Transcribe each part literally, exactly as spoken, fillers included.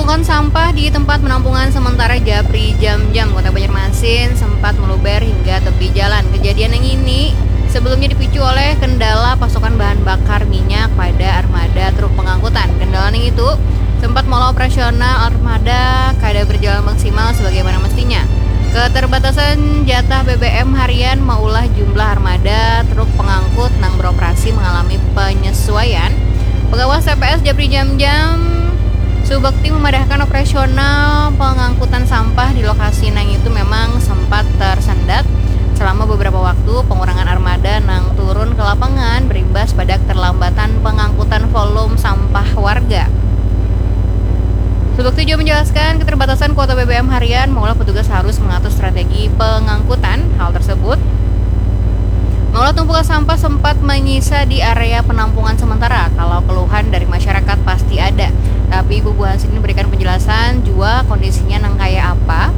Tumpukan sampah di tempat penampungan sementara Japri Jamjam, Kota Banjarmasin, sempat meluber hingga tepi jalan. Kejadian yang ini sebelumnya dipicu oleh kendala pasokan bahan bakar minyak pada armada truk pengangkutan. Kendala yang itu sempat maulah operasional armada kada berjalan maksimal sebagaimana mestinya. Keterbatasan jatah B B M harian maulah jumlah armada truk pengangkut nang beroperasi mengalami penyesuaian. Pengawas T P S Japri Jamjam Subakti memadahkan operasional pengangkutan sampah di lokasi nang itu memang sempat tersendat selama beberapa waktu. Pengurangan armada nang turun ke lapangan berimbas pada keterlambatan pengangkutan volume sampah warga. Subakti juga menjelaskan keterbatasan kuota B B M harian maulah petugas harus mengatur strategi pengangkutan. Hal tersebut maulah tumpukan sampah sempat menyisa di area penampungan sementara. Kalau keluhan dari masyarakat pasti ada, tapi bubuhan sini berikan penjelasan jua kondisinya nang kaya apa.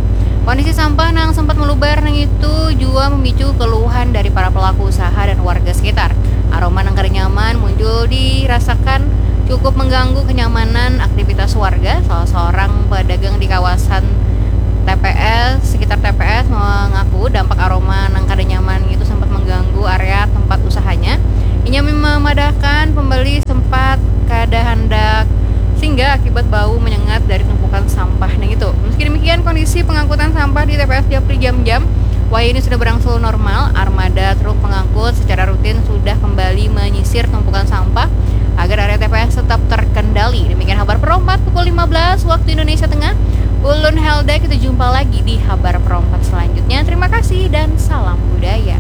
Kondisi sampah nang sempat meluber nang itu jua memicu keluhan dari para pelaku usaha dan warga sekitar. Aroma nang kada nyaman muncul dirasakan cukup mengganggu kenyamanan aktivitas warga. Salah seorang pedagang di kawasan T P S, sekitar T P S mengaku dampak aroma nang kada nyaman itu sempat mengganggu area tempat usahanya. Inya memadahkan pembeli sempat kada handak singgah akibat bau menyengat dari tumpukan sampah nang itu. Meski demikian, kondisi pengangkutan sampah di T P S Japri Jamjam wayah ini sudah berangsur normal. Armada truk pengangkut secara rutin sudah kembali menyisir tumpukan sampah agar area T P S tetap terkendali. Demikian Habar Perompat pukul lima belas waktu Indonesia Tengah. Ulun Helda, kita jumpa lagi di Habar Perompat selanjutnya. Terima kasih dan salam budaya.